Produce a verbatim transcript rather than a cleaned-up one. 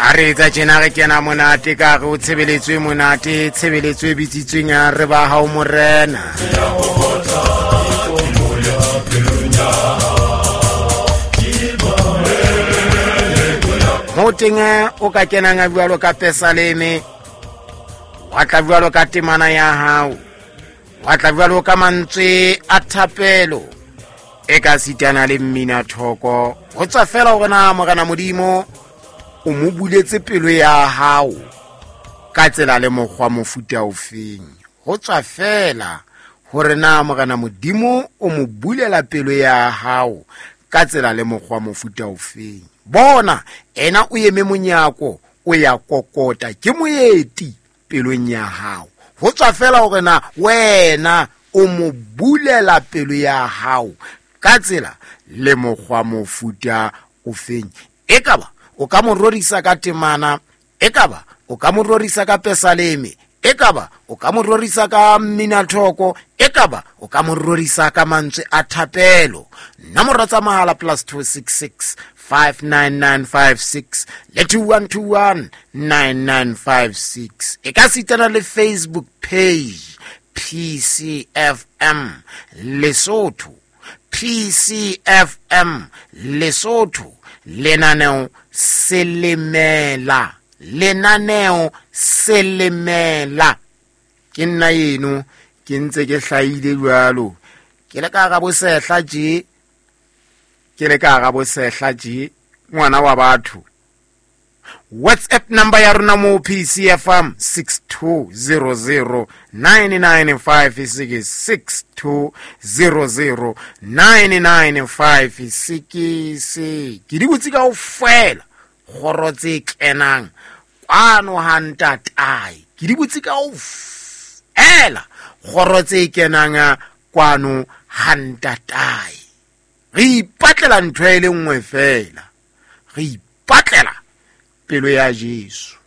Ha re etsa tjena re kena monate ka re o tshebeletso e monate, tshebeletso e bitsitsweng ya re ba hao morena. Mo teng o ka kenang a jwalo ka pesaleme, wa tla jwalo ka temana ya hao, wa tla jwalo ka mantswe a thapelo, e ka sitana le mmina thoko. Ho tswa fela hore na Morena Modimo o mo buletse pelo ya hao ka tsela le mokgwa mofuta ofeng. Ho tswa fela hore na Morena Modimo o mo bulela pelo ya hao ka tsela le mokgwa mofuta ofeng. Bona ena o eme monyako, o ya kokota, ke moeti pelong ya hao. Ho tswa fela hore na wena o mo bulela pelo ya hao ka tsela le mokgwa mofuta ofeng. Ekaba o ka mo rorisa ka temana, ekaba o ka mo rorisa ka pesaleme, ekaba o ka mo rorisa ka minathoko, ekaba o ka mo rorisa ka mantswe a thapelo. Nomoro tsa mahala plus two six six five nine nine five six le two one two one nine nine five six. E ka sitana le Facebook page P C F M Lesotho, P C F M Lesotho, lenaneo Selemela, lenaneo Selemela. Ke nna eno ke ntse ke hlahile jwalo, ke le ka hara bosehla tje, ke le ka hara bosehla tje, ngwana wa batho. WhatsApp number ya rona mo P C F M six two zero zero nine nine five six, six two zero zero nine nine five six. Ke di botse kaofela kgoro tse kenang kwano ha ntatae, ke di botse kaofela kgoro tse kenang kwano ha ntatae. Re ipatlela ntho e le nngwe fela, re ipatlela pelo ya Jesu.